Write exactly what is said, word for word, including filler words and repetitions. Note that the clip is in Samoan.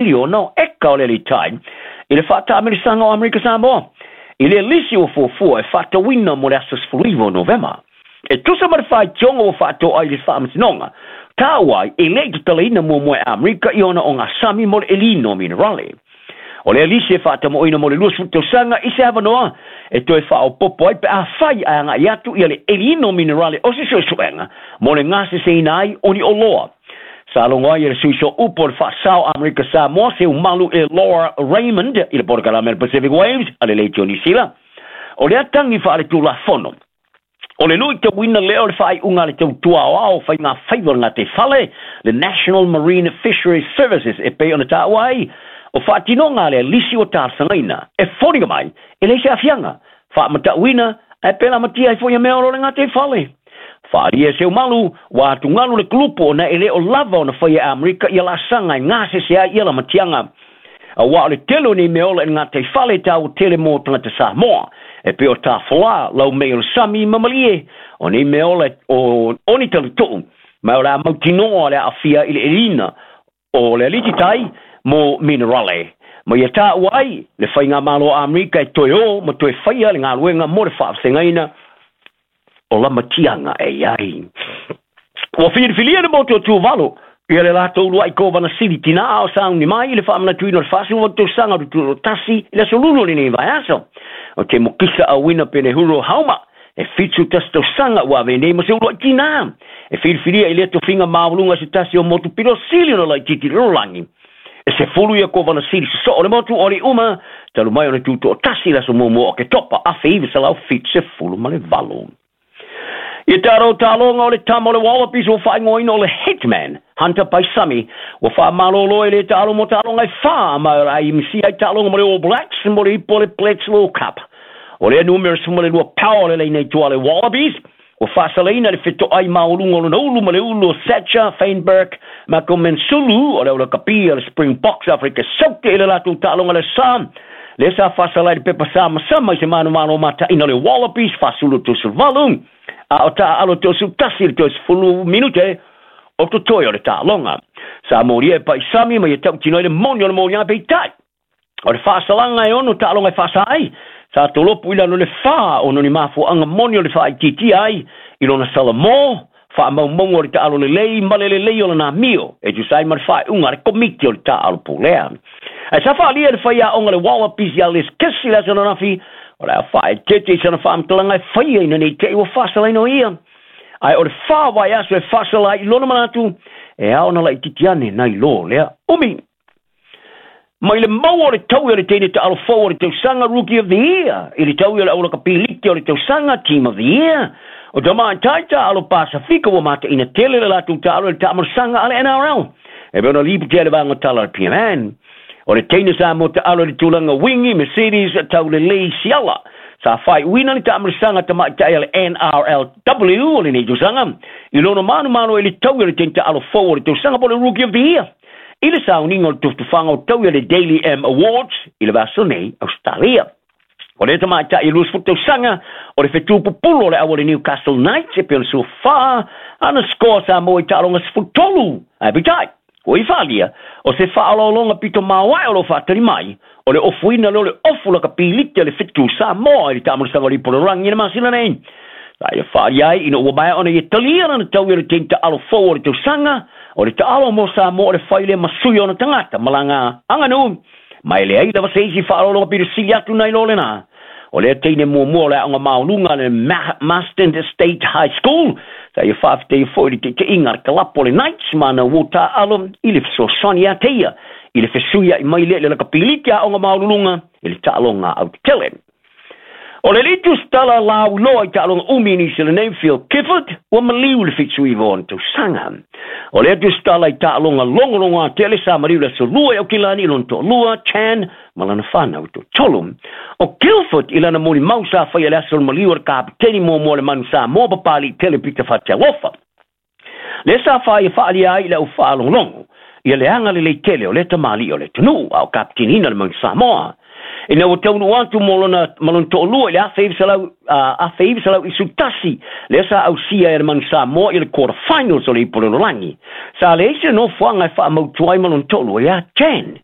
Miliona o eka o le aliitai i le faataamilosaga o Amerika Samoa i le lisi ua fuafua e faatatauina mo le aso sefuluiva o Novema. E tusa ma le faitioga ua faatoa i le Faamasinoga, taua ai e le i tatalaina muamua e Amerika i ona ogasami mo le elina o minerale. O le lisi e faatamoina mo le luasefulu tausaga i se avanoa e toe faaopopo ai pe afai ae agai atu ia le eliina o minerale o se suesuega mo le gaseseina ai o ni oloa. Sa logo ai e le sui sooupu o le faasao Amerika Samoa Seumalu e Laura Raymond i le polokalame Pacific Waves a le Leitio Niu Sila. O le atagi faaletulafono o le luitauina lea o le faaiuga a le tautua aoao faiga faiva o le gataifale, le National Marine Fisheries Services, e pei ona taua ai o faatinoga a le lisi ua talosagaina e foliga mai e leai se aafiaga faamatauina ae pe lamatia ai foi ia mea o lo le gataifale. Faaalia e Seumalu ua atugalu le kulupu ona e le o lava ona faia e Amerika ia laasaga e gasese ai ia lamatiaga, auā o le tele o nei mea ola i le gataifale e taua tele mo tagata Samoa e pei o tafolā, laumei o le sami ma malie. O nei mea ola o, o ni talatuu ma o le a mautinoa le aafia i le elina o le alititai mo minerale ma ia taua ai le faigamalo a Amerika e toe o ma toe faia le galuega mo le faavasegaina o lamatiaga e i ai. Ua filifilia le motu o Tuvalu ia le latou uluai kovana sili tinā o sauni mai i le faamanatuina o le faasefuluvalu tausaga o le tutoatasi i le aso Lulu o lenei vaiaso. O te mokisa auina Penehuro Hauma e fitu tasi tausaga ua avea nei ma se uluai tinā e filifilia i lea tofiga maualuga se tasi o motu pito sili ona laitiiti i le lalolagi. E sefulu ia kovana sili sosoo o le motu o alii uma talu mai ona tutoatasi i le aso muamua o Oketopa afe iva selau fitu sefulu ma le valu. Ia tatou taaloga o le tama o le Wallabies ua faaigoaina o le Hitman, Hunter Paisami, ua faamalōlō e le taalo mo taaloga e fā ma o le a imisia ai taaloga mo le All Blacks mo le ipu o le Bledisloe Cup. O lea numera sefulu ma le lua power o le laina i tua a le Wallabies ua faasalaina le fetoai maualuga o lona ulu ma le ulu o Sacha Feinberg Mngomezulu o le aulakapi a le Springboks Afrika Saute i le latou taaloga le sa lea sa faasala i le pepa samasama i se manumalo mataina o le Wallabies faasulu tosevalu a o taaalo tosetasi i le toasefulu minute o totoe o le taaloga. Sa molia e Paisami ma ia tautino ai le moni o le moliaga, peitai o le faasalaga e ono taaloga e faasa ai sa tolopu i lalo le fā ona o ni mafuaaga moni o le faaitiitia ai i lona salamō faamaumauga o le taalo lelei ma le lelei o lana amio e tusa ai ma le faaiuga a le komiti o le taaalo pulea. Ae sa faaalia e le faiaoga le Wallabies ia Les Kiss i le aso ananafi o le a faaeteete i sana faamatalaga e faia ina nei te'i ua faasalaina o ia. Ae o le fā vaiaso e faasala ai i lona manatu e ao ona laitiiti ane nai lō lea umi. Mai le maua o le taui o le teine taalo fou o le tausaga, Rookie of the Year, i le taui o le aulakapi liki o le tausaga, Team of the Year, o tamaitai taalo Pasifika ua mataina tele le latou taalo i le taamalosaga a le N R L e pei ona lipotia i le vaega tala a le P M N. O le teine Samoa taalo i le tulaga wingi Mercedes Taulelei Siala sa faaiuina le taamalosaga tamaitai a le N R L W o lenei tausaga i lona manumalo i le taui o le teine taalo fou o le tausaga po o le Rookie of the Year i le sauniga o le tufatufaga o taui a le Daily M Awards i le vaiaso nei Australia. O le tamaitai e luasefulu tausaga o le fetu pupulu o le au o le Newcastle Knights e pei ona suafā ana score Samoa i taaloga sefulu tolu. Ae peitai, ua i faalia o se faaolaologa pito maoae o lo faatali mai o le ofuina lea o le ofu lakapi liki a le fetu Samoa i le taamalosaga o le ipu o le lalolagi i le masina nei. Sa ia faalia ai ina ua maea ona ia talia lana taui o le teine taalo fou o le tausaga o le taalo mo Samoa o le fai lea ma sui ona tagata ma laga aganuu ma e leai lava se isi faaolaologa pito sili atu nai lo lena. O lea teine muamua o le aoga maualuga a le Marston State High School sa ia faafetaia foi i le taitaiga a le kalapo o le Knights ma ana uo taaalo i le fesoasoani ia te ia i le fesuiai mai lea i le lakapiliki a aoga maualuluga i le taaloga autetele. O le alii tusitala lauiloa i taaloga umi i Niu Sila nei Phil Gifford ua maliu i le fitu iva o ona tausaga. O lea tusitala i taaloga logologo tele sa maliu i le aso Lua i Aukilani i lona toalua Chan ma lana fanau toatolu. O Guildford i lana molimau sa faia i le aso o le maliu o le kapiteni muamua o le Manu Samoa Papali'i tele Pita Fatialofa. Lea sa faia faaalia ai i le au faalogologo ia le agalelei tele o lea tamalii o le atunuu a o kapiteniina le Manu Samoa. Ina ua taunuu atu mo lona ma lona toalua i le afe iva selau afe iva selau isu tasi, lea sa ausia e le Manu Samoa i le quarter finals o le Ipu o le Lalolagi. Sa leai se nofoaga e faamautu ai ma lona toalua ia Jan.